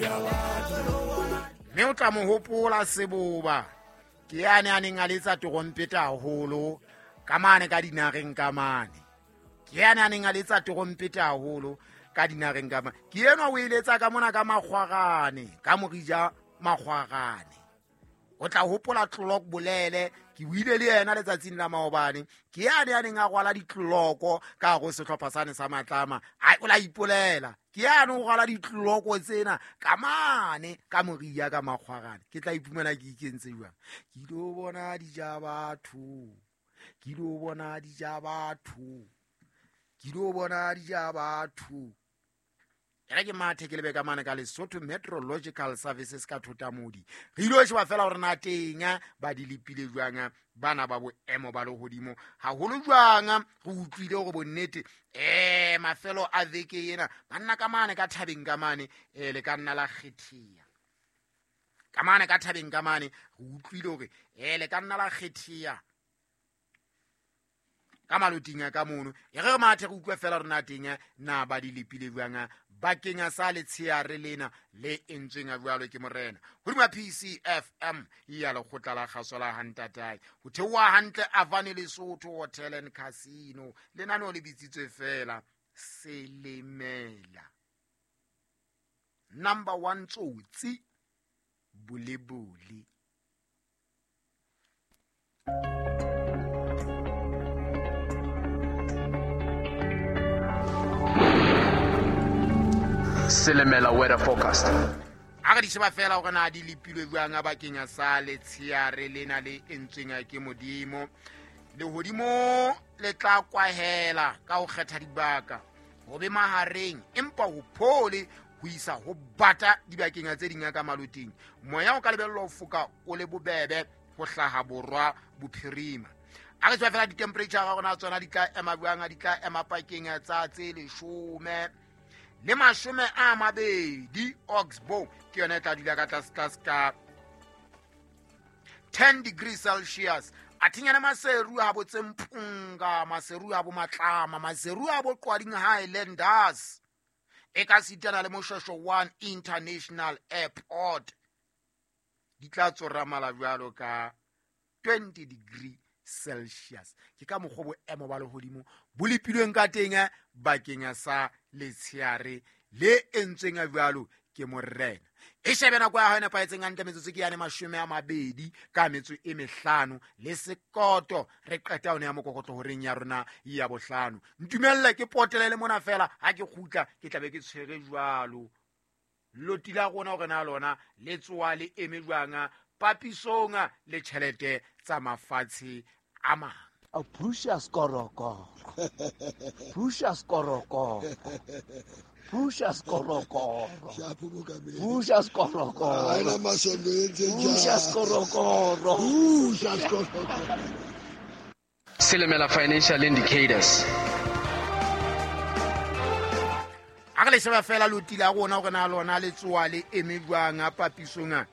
Mme o tla mo hopola Seboba, ke yane a neng a letsa terompeta haholo ka mane ka dinareng ka mane. Ke yane a neng a letsa terompeta haholo ka dinareng ka mane. Ke enwa o e letsa ka mona ka Makgwarane, ka Morija Makgwarane. O tla hopola Clock Bolele, ke buile le yena letsatsing la maobane. Ke yane a neng a rwala ditloloko ka hare ho sehlopha sane sa Matlama. Ai, o la ipolela. Ke yane o rwala ditloloko tsena ka mane ka Moria ka Makgwarane. Ke tla iphumana ke ikentse jwang? Ke ilo bona dija batho. Ke ilo bona dija batho. Ke ilo bona dija batho. Ere ke mathe ke lebe ka mane ka Lesotho Meteorological Services ka Thotamodi. Re ilo sheba fela hore na teng ba di lepile jwang bana ba boemo ba lehodimo. Haholo jwang re utlwile hore bonnete mafelo a veke ena banna ka mane ka thabeng ka mane le ka nna la kgethea. Ka mane ka thabeng ka mane re utlwile hore le ka nna la kgethea ka maloting a ka mono. E re re mathe re utlwe fela rona teng na ba di lepile jwang bakeng sa letsheare lena le entsweng a jwalo ke morena. Hodima PCFM ya lekgotla la kgaso la Hantatae. Ho theoha hantle Avane Lesotho Hotel and Casino. Lenaneo le bitsitswe fela Selemela. Number 1 Tsotsi Bolebole. Selemela weather forecast. A re di sheba fela hore na di lepilwe jwang a bakeng sa letsheare lena le entsweng ke Modimo. Lehodimo le tla kwahela ka ho kgetha dibaka ho be mahareng, empa ho phole ho isa ho bata dibakeng tse ding ka maloting. Moya o ka lebellwa ho foka o le bobebe ho hlaha borwa bophirima. A re tswa fela di-temperature ga rona tsona di tla ema jwang, di tla ema pakeng tsa tse 12 le 20. Oxbow ke yona e tla dula ka tlase tlase ka 10 degrees Celsius. A thinyana Maseru a bo Tsempunga, Maseru a bo Matlama, Maseru a bo Qwading Highlanders. E ka sitana le Moshweshwe 1 International Airport. Di tla tsoramala jwalo ka 20 degree Celsius. Ke ka mokgwa boemo ba lehodimo bo lepilweng ka teng bakeng sa letsheare le entsweng jwalo ke morena. E shebe nako ya hao e nepahetseng hantle, metsotso ke yane 25 le sekoto. Re qeta yone ya mokokotlo horeng ya rona ya bohlano. Ntumelle ke potele le mona fela, ha ke kgutla ke tla be ke tshwere jwalo loti la rona hore na lona le tsoa le eme jwang papisong le tjhelete tsa mafatshe a mang. A Precious Korokoro. Precious Korokoro. Precious Korokoro. Precious Korokoro. Precious Korokoro. Precious Korokoro. Selemela Financial Indicators. A re le sheba fela loti la rona hore na lona le tsoa le eme jwang a papisong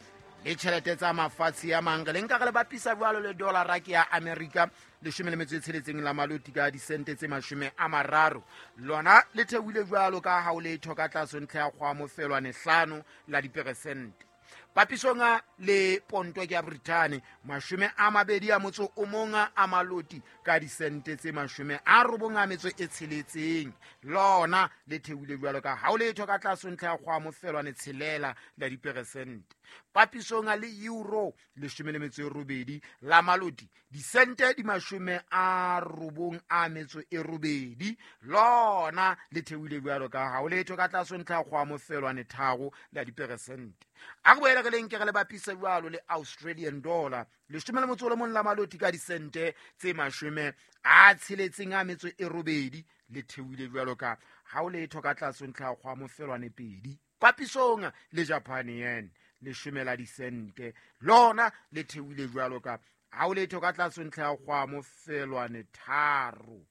le tjhelete tsa mafatshe a mang. Re le nka re le bapisa jwalo le dollara ke ya Amerika 16 la maloti ka disente tse 30. Lona le theohile jwalo ka ha o letho ka tlase ntlha ya kgwa mofelwane 5 la diperesente. Papisong le ponto ke ya Britain 21 a maloti ka disente tse 96. Lona le theohile jwalo ka ha o letho ka tlase ntlha ya kgwa mofelwane 6 la diperesente. Papisong le euro 18 la maloti disente di 98. Lona le theohile jwalo ka ha o letho ka tlase ntlha ya kgwa mofelwane 3 la diperesente. A re boele re le nke re le bapise jwalo le Australian dollar 11 la maloti ka disente tse 68 le theohile jwalo ka ha o letho ka tlase ntlha ya kgwa mofelwane 2. Papisong le Japan yen 10 la disente lona le theohile jwalo ka ha o letho ka tlase ntlha ya kgwa mofelwane 3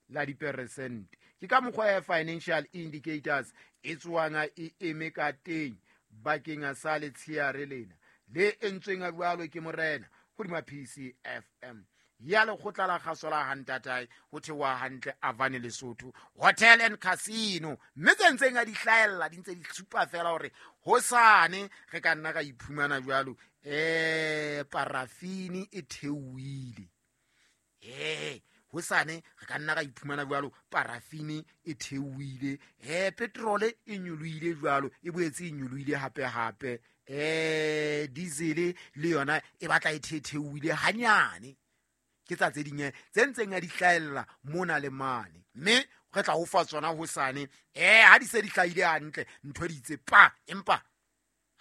la diperesente. Ke ka mokgwa ya Financial Indicators e tsoang e eme ka teng bakeng sa letsheare lena le entsweng jwalo ke morena hodima PCFM. Ya lekgotla la kgaso la hantatae ho theoha hantle Avane Lesotho Hotel and Casino. Mme tse ntseng a di hlahella di ntse di supa fela hore hosane re ka nna ra iphumana jwalo parafini e theohile. Hosane re ka nna ra iphumana jwalo parafini e theohile, petrole e nyolohile jwalo, e boetse e nyolohile hape hape, diesel le yona e batla e theohile hanyane. Ke tsa tse ding tse ntseng a di hlahella mona le mane, mme re tla ho fa tsona hosane ha di se di hlahile hantle ntho di itse pa. Empa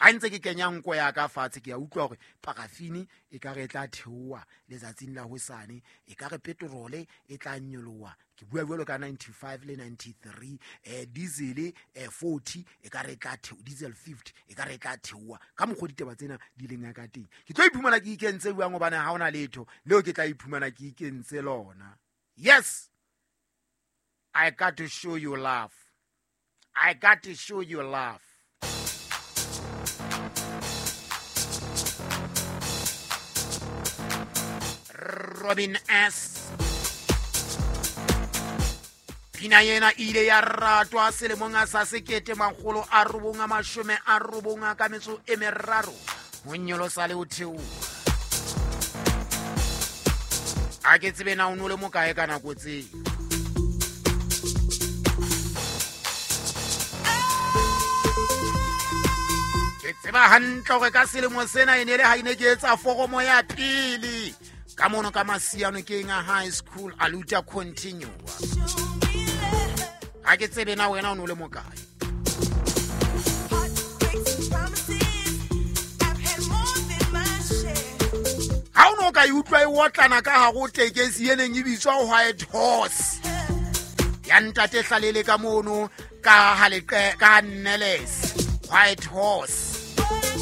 ha ntse ke kenya nko ya ka fatshe ke a utlwa hore parafini e ka re tla theoha letsatsing la hosane, e ka re petrole e tla nyoloha, ke bua jwalo ka 95 le 93, diesel 40 e ka re tla theoha, diesel 50 e ka re tla theoha. Ka mokgwa ditaba tsena di leng ka teng ke tlo iphumana ke ikentse jwang, hobane ha hona letho leo ke tla iphumana ke ikentse lona. Yes, I got to show you love. I got to show you love. Robin S. Pina ena ile ya ratwa selemong sa 1993 ho nyolosa le ho theoha. A ke tsebe na o no le mokae ka nako tseo. Ke tseba hantle hore ka selemo sena e ne le ha ine ke etsa foromo ya pele ka mono ka Masiano ke nga high school aluta continue. Ha ke tsebe na wena o no le mokae. Ha o no ka utlwa e otlana ka hare ho tekesi e neng e bitswa White Horse ya ntate Hlalele ka mono ka haleqe ka Nneles. White Horse.